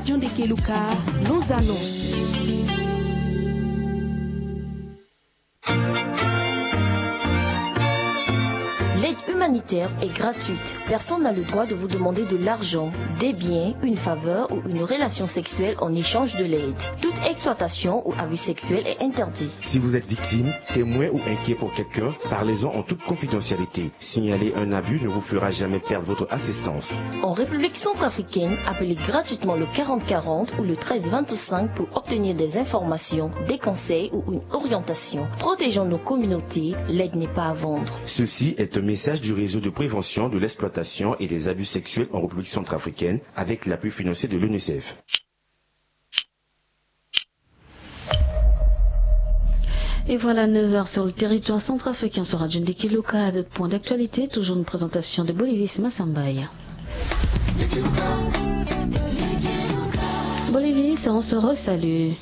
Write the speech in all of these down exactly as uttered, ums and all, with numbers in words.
John de Keluka, nos annonces. L'aide humanitaire est gratuite. Personne n'a le droit de vous demander de l'argent, des biens, une faveur ou une relation sexuelle en échange de l'aide. Toute exploitation ou abus sexuel est interdit. Si vous êtes victime, témoin ou inquiet pour quelqu'un, parlez-en en toute confidentialité. Signaler un abus ne vous fera jamais perdre votre assistance. En République centrafricaine, appelez gratuitement le quarante quarante ou le treize vingt-cinq pour obtenir des informations, des conseils ou une orientation. Protégeons nos communautés, l'aide n'est pas à vendre. Ceci est un message du réseau de prévention de l'exploitation et des abus sexuels en République centrafricaine avec l'appui financier de l'UNICEF. Et voilà, neuf heures sur le territoire centrafricain sur Radio Ndeki Luka. D'autres points d'actualité, toujours une présentation de Bolivis Massambaya. Bolivis, on se resalue.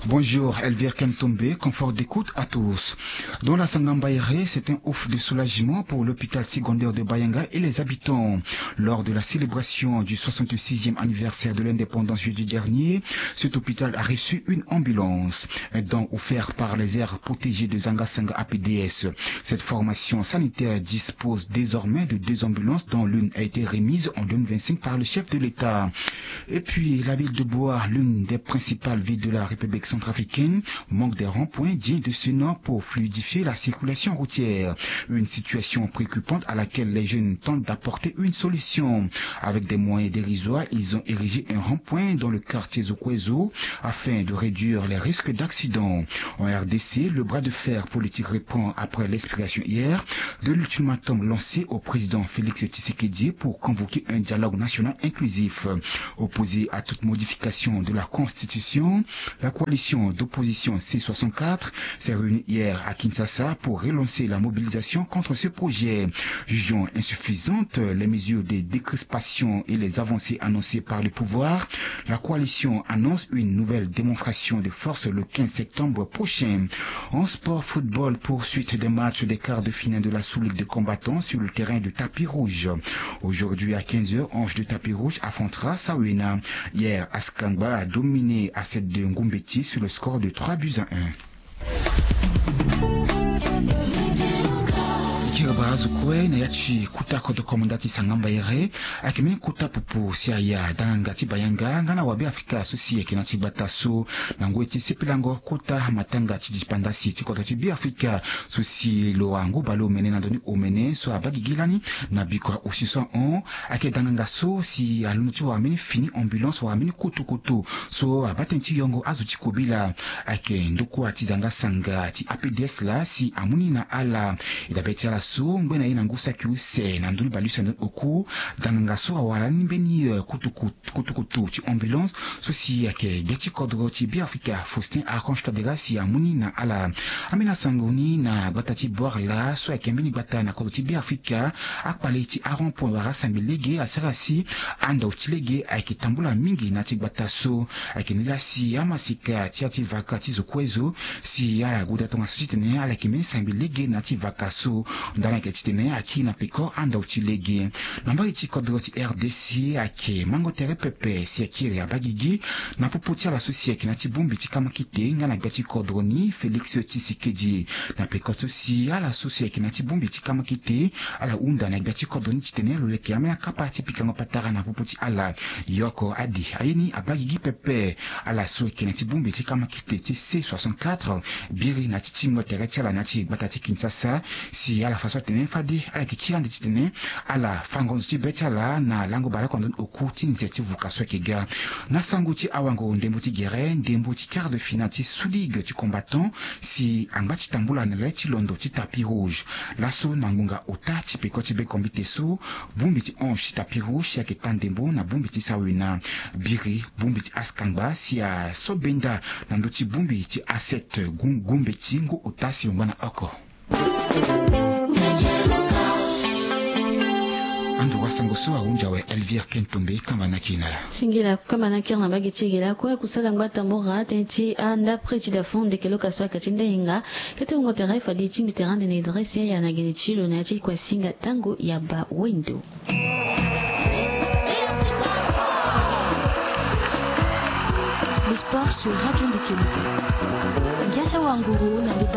Bonjour, Elvire Kentombe, confort d'écoute à tous. Dans la Sangambaïré, c'est un ouf de soulagement pour l'hôpital secondaire de Bayanga et les habitants. Lors de la célébration du soixante-sixième anniversaire de l'indépendance jeudi dernier, cet hôpital a reçu une ambulance, un don offert par les aires protégées de Zanga Sanga A P D S. Cette formation sanitaire dispose désormais de deux ambulances, dont l'une a été remise en deux mille vingt-cinq par le chef de l'État. Et puis, la ville de Boa, l'une des principales villes de la République centrafricaine, manque des ronds-points dignes de ce nom pour fluidifier la circulation routière. Une situation préoccupante à laquelle les jeunes tentent d'apporter une solution. Avec des moyens dérisoires, ils ont érigé un rond-point dans le quartier Zokwezo afin de réduire les risques d'accident. En R D C, le bras de fer politique reprend après l'expiration hier de l'ultimatum lancé au président Félix Tshisekedi pour convoquer un dialogue national inclusif. Opposé à toute modification de la Constitution, la coalition d'opposition C soixante-quatre s'est réunie hier à Kinshasa pour relancer la mobilisation contre ce projet. Jugeant insuffisantes les mesures de décrispation et les avancées annoncées par le pouvoir, la coalition annonce une nouvelle démonstration de force le quinze septembre prochain. En sport football, poursuite des matchs des quarts de finale de la Sous-Ligue des combattants sur le terrain de tapis rouge. Aujourd'hui à quinze heures, Ange de Tapis Rouge affrontera Sawena. Hier, Askangba a dominé Asset de Ngumbeti sur le score de trois buts à un. Kiri barazu kue na ya ti kuta kodro komanda ti Sangamba Ere, ayeke mbeni kuta pupu si aya danganga ti Bayanga nga na wabe Afrika so si ayeke na ti gbata so. Na ngoi ti sepelango kota matanga ti dipandasi ti kodro ti Beafrika so si lo angu baleomene na ndoni omene so abaa gigi lani na bikua osi so ahon. Ayeke danganga so si alondo ti wara mbeni fini ambulance wala mbeni kutukutu so abaa tënë ti yongo azo ti kobela. Ayeke ndokua ti zanga sanga ti A P D S laa si amu ni na ala. E dabe ti ala so ngbe na ye na ngu saki use na ndoni baleuse na ndoni oku. Danganga so awara ni mbeni eh, kutukutu kutukutu ti ambulance so si ayeke gbia ti kodro ti Beafrika Faustin Archange Touadéra si amu ni na ala. Ambeni asango ni na gbata ti Boar laa so ayeke mbeni gbata na kodro ti Beafrika. Akpale ti arond point wala asangbi lege asara si andau ti lege ayeke tambula mingi na ti gbata so. Ayeke nilaa si amasika ti ya ti vaka ti zo kue zo si ala guda tongaso titene ala yeke mbeni sangbi lege na ya ti vaka so. Ndani ayeke titene akiri na peko andau ti lege. Na mbage ti kodro ti R D C ayeke mango tere pepe si akiri abaa gigi na popo ti ala so si ayeke na ya ti bongbi ti kamakite nga na gbia ti kodro ni Félix Tshisekedi. Na peko so si ala so si ayeke na ya ti bongbi ti kamakite ala hunda na gbia ti kodro ni titene lo leke ambeni akapa ti pikango patara na popo ti ala. Yoko adi aye ni abaa gigi pepe. Ala so ayeke na ya ti bongbi ti kamakite ti C soixante-quatre biri na ya ti tingo tere ti ala na ya ti gbata ti Kinshasa si ala fa so atene fade ala yeke kiri ande titene ala fa ngonzo ti be ti ala na lango baleoko na ndoni oku ti nze ti vuka so ayeke ga. Na sango ti awango ndembo ti gere ndembo ti quart de finale ti Sous-Ligue ti combattant si angba ti tambula na le ti londo ti tapis rouge. Laso na ngonga ota ti peko ti be kombite so bongbi ti Ange ti tapis rouge si ayeke taa ndembo na bongbi ti Sawena. Biri bongbi ti Askangba si aso benda na ndö ti bongbi ti Asset gu- gumbeti ngu ota si lo ngba na oko. Ando wasango so ahunzi awe Elvire Kentombe kamba na kiri na ala. Singila kamba na kiri na mbage ti ge lakue kusala ngba tambura tënë ti andapre ti dafon ndeke lo ka so ayeke ti ndainga. Kete wungo tere fade ti mbi tere ande na e dresse yaya na gene ti lo na ya ti kua singa tango ya bawendo. Sport sur Radio Ndikelo. Ngia ti awanguru na ndo